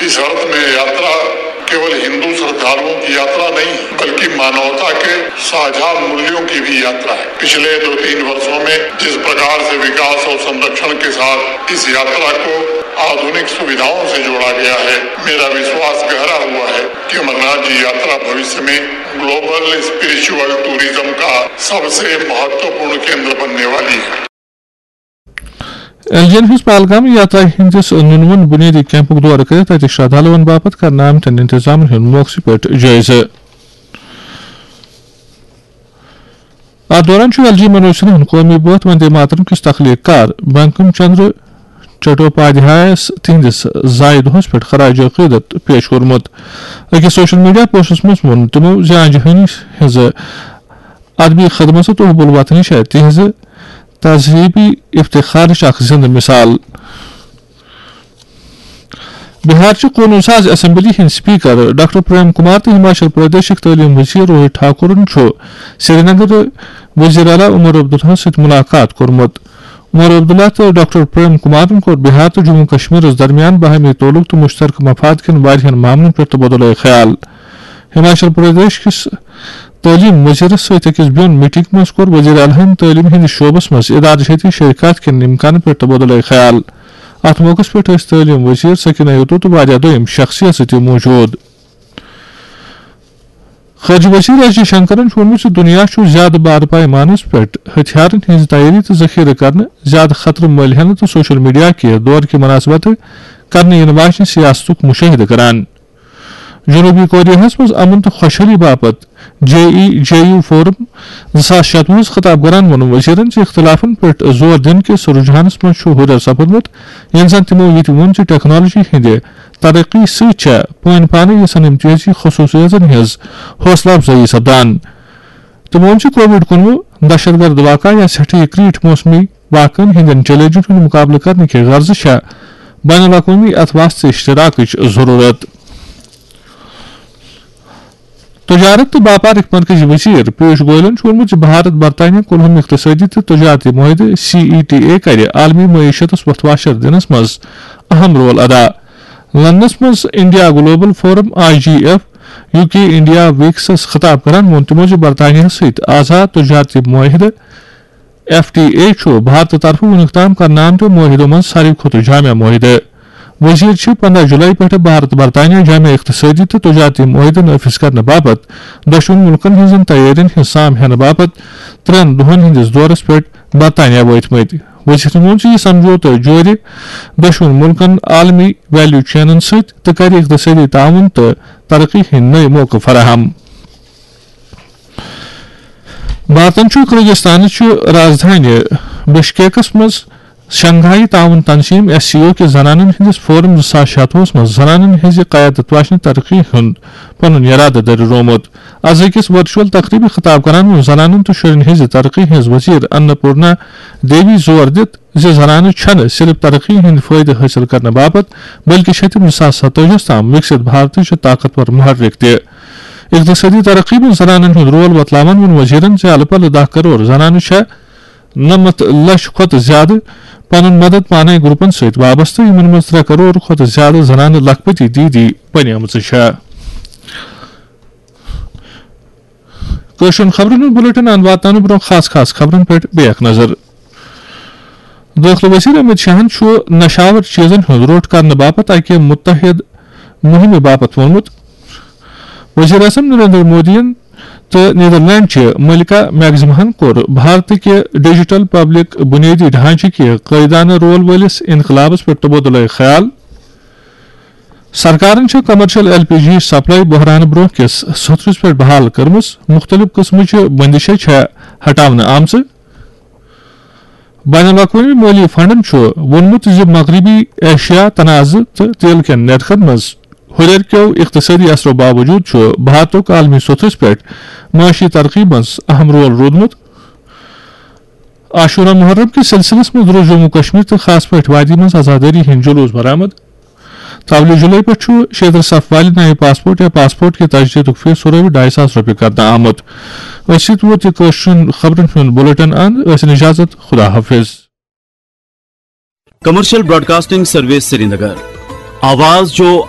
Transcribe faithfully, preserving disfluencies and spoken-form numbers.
इस अर्थ में यात्रा केवल हिंदू श्रद्धालुओं की यात्रा नहीं, बल्कि मानवता के साझा मूल्यों की भी यात्रा है। पिछले दो तीन वर्षों में जिस प्रकार से विकास और संरक्षण के साथ इस यात्रा को आधुनिक सुविधाओं से जोड़ा गया है, मेरा विश्वास गहरा हुआ है कि अमरनाथ जी यात्रा भविष्य में ग्लोबल स्पिरिचुअल टूरिज्म का सबसे महत्वपूर्ण केंद्र बनने वाली है। ایل جی ین ہٕنٛز پہلگام یاترا ہٕنٛدِس نُنوُن بُنیٲدی کیمپُک دورٕ کٔرِتھ تَتہِ شرٛدھالوَن باپتھ کرنہٕ آمتٮ۪ن انتظامن ہُنٛد موقعہٕ پٮ۪ٹھ جٲیزٕ۔ اَتھ دوران چھُ ایل جی منوج سنہاہن قومی بٲتھ وندے ماترم کِس تخلیٖق کار بنکم چندر چٹوپادھیایس تِہنٛدِس زایہِ دۄہس پٮ۪ٹھ خراج عقیدت پیش کوٚرمُت۔ أکِس سوشل میڈیا پوسٹس منٛز ووٚن تِمو زِ آنجہٲنی ہٕنٛزٕ ادبی خدمژ تہٕ حب الوطنی چھےٚ تِہنٛزِ تہذیبی افتخارٕچ اکھ زندٕ مثال۔ بہار چہِ قونوٗن ساز اسمبلی ہٕنٛدۍ سپیکر ڈاکٹر پریم کمار تہٕ ہماچل پردیشٕکۍ تعلیٖم وزیر روہت ٹھاکرن چھُ سرینگر وزیر اعلیٰ عمر عبداللہ سۭتۍ ملاقات کوٚرمُت۔ عمر عبداللہ تہٕ ڈاکٹر پریم کمارن کوٚر بہار تہٕ جموں کشمیرس درمیان باہمی تعلق تہٕ مشترکہٕ مفاد کٮ۪ن واریاہن معاملن پٮ۪ٹھ تبادلہ خیال۔ ہماچل پردیش کِس تعلیٖم وزیرس سۭتۍ أکِس بیوٚن میٹنگ منٛز کوٚر وزیر اعلیٰ ہن تعلیٖم ہٕنٛدِس شعبس منٛز ادارٕ جٲتی شرکت کٮ۪ن امکانن پٮ۪ٹھ تبادلہ خیال۔ اتھ موقعس پٮ۪ٹھ ٲسۍ تعلیٖم وزیر سکینہ یتو تہٕ واریاہ دوٚیِم شخصیژٕ تہِ موجود۔ خارجہ وزیر ایس جے شنکرن چھُ ووٚنمُت زِ دُنیا چھُ زیادٕ بار پیمانس پٮ۪ٹھ ہتھیارن ہٕنٛز تیٲری تہٕ ذخیرٕ کرنہٕ، زیادٕ خطرٕ مٔلۍ ہینہٕ تہٕ سوشل میڈیا کہِ دور کہِ مناسبتہٕ کرنہٕ یِنہٕ واجنہِ سیاستُک مشاہدٕ کران۔ جنوبی کوریاہس منٛز امن تہٕ خۄشحٲلی باپتھ جے ای جے یو فورم زٕ ساس شتوُہس خطاب کران ووٚن وزیرن زِ اختلافن پٮ۪ٹھ زور دِنہٕ کِس رجحانس منٛز چھُ ہُرٮ۪ر سپدمُت، ییٚلہِ زن تِمو یہِ تہِ ووٚن زِ ٹیکنالوجی ہٕنٛدِ ترقی سۭتۍ چھےٚ پٲنۍ پانٕے یژھن امتیازی خصوصیژن ہٕنٛز حوصلہٕ افزٲیی سپدان۔ تِمو ووٚن زِ کووڈ کُنوُہ، دہشت گرد واقعہ یا سٮ۪ٹھٕے کریٖٹھ موسمی واقعن ہٕنٛدٮ۪ن چیلنجن ہُنٛد مقابلہٕ کرنہٕ کہِ غرضہٕ چھےٚ بین الاقوٲمی اتھ واسطہٕ اشتراکٕچ ضروٗرت۔ تجارت تہٕ باپارٕکۍ مرکزی وزیر پیوش گوئلن چھُ ووٚنمُت زِ بھارت برطانیہ کُلہُم اقتصٲدی تہٕ تجارتی معاہدٕ سی ای ٹی اے کرِ عالمی معیشتس وۄتھٕ واشر دِنس منٛز اہم رول ادا۔ لندنس منٛز India global forum I G F U K India ویکسس خطاب کران ووٚن تِمو زِ برطانیہ سۭتۍ آزاد تجارتی معاہدٕ ایف ٹی اے چھُ بھارتہٕ طرفہٕ وُنیُک تام کرنہٕ آمتیو معاہدو منٛز ساروی کھۄتہٕ جامع معاہدٕ۔ وزیر چھِ پندہ جولائی پٮ۪ٹھ بھارت برطانیہ جامع اقتصٲدی تہٕ تجارتی معاہدٕ نافذ کرنہٕ باپتھ دۄشوٕنی مُلکن ہٕنٛزن تیٲرین ہٕنٛز سام ہینہٕ باپتھ ترٛٮ۪ن دۄہن ہٕنٛدِس دورس پٮ۪ٹھ برطانیہ وٲتمٕتۍ۔ وزیرن ووٚن زِ یہِ سمجھوتہٕ جورِ دۄشوٕنی مُلکن عالمی ویلیو چینن سۭتۍ تہٕ کرِ اقتصٲدی تعاون تہٕ ترقی ہٕنٛدۍ نٔوۍ موقعہٕ فراہم۔ بھارتن چھُ کرغزستانٕچ رازدھانی بشکیکس منٛز شنگھائی تعاون تنظیم ایس سی او کہِ زنانن ہٕنٛدِس فورم زٕ ساس شتوُہس منٛز زنانن ہٕنٛزِ قیادت واجنہِ ترقی ہُنٛد پنُن یرادٕ دٔرِرومُت۔ از أکِس ورچوئل تقریبہِ خطاب کران ووٚن زنانن تہٕ شُرٮ۪ن ہٕنٛزِ ترقی ہٕنٛز وزیر اناپورنا دیوی زور دِتھ زِ زنانہٕ چھنہٕ صرف ترقی ہٕنٛدۍ فٲیدٕ حٲصِل کرنہٕ باپتھ بلکہِ چھِ تِم زٕ ساس ستٲجِہس تام وِکسِت بھارتٕچ طاقتور محرک تہِ۔ اقتصٲدی ترقی منٛز زنانن ہُنٛد رول وۄتلاوان ووٚن وزیرن زِ الہٕ پلہٕ دَہ کرور زنانہٕ چھےٚ نَمَتھ لچھ کھۄتہٕ زیادٕ پنُن مدد پانے گروپن سۭتۍ وابستہٕ، یِمن منٛز ترٛےٚ کرور کھۄتہٕ زیادٕ زنانہٕ لکھپتی دیدی بنیمژٕ چھےٚ۔ کٲشرٮ۪ن خبرن ہُنٛد بُلٹن اند واتناونہٕ برونٛہہ خاص خاص خبرن پٮ۪ٹھ بیٚیہِ اکھ نظر۔ دٲخلہٕ وزیر امت شاہن چھُ نشاور چیزن ہُنٛد روٚٹ کرنہٕ باپتھ اکہِ متحد مُہِمہِ باپتھ ووٚنمُت۔ وزیر اعظم نریندر مودیَن تہٕ نیدرلینڈ چہِ ملکہ میگزماہن کوٚر بھارتٕکہِ ڈیجیٹل پبلک بنیٲدی ڈھانچہٕ کہِ قٲیدانہٕ رول وٲلِس انقلابس پٮ۪ٹھ تبادلہ خیال۔ سرکارن چھِ کمرشل ایل پی جی سپلائی بحرانہٕ برونٛہہ کِس سترس پٮ۪ٹھ بحال کٔرمٕژ، مُختٔلِف قٕسمٕچہِ بندشہٕ چھےٚ ہٹاونہٕ آمژٕ۔ بین الاقوٲمی مٲلی فنڈن چھُ ووٚنمُت زِ مغربی ایشیا تنازٕ تہٕ تیل کٮ۪ن نرخن منٛز ہُرٮ۪ر کیو اقتصٲدی اثرو باوجود چھُ بھارتُک عالمی سطحس پٮ۪ٹھ معاشی ترقی منٛز اہم رول روٗدمُت۔ عاشورہ محرم کِس سلسلس منٛز روٚٹ جموں کشمیر تہٕ خاص پٲٹھۍ وادی منٛز عزادٲری ہٕنٛدۍ جلوس برآمد۔ ترٛووُہ جولائی پٮ۪ٹھ چھُ شیٚیہِ ترٕٛہ صف والہِ نَیہِ پاسپورٹ یا پاسپورٹ کہِ تجدیدُک فیس سورُے ڈاے ساس رۄپیہِ کرنہٕ آمُت۔ أتھۍ سۭتۍ ووت یہِ کٲشرٮ۪ن خبرن ہُنٛد بُلٹن اند۔ ٲسِن اجازت، خدا حافظ۔ Commercial broadcasting service Srinagar. آواز جو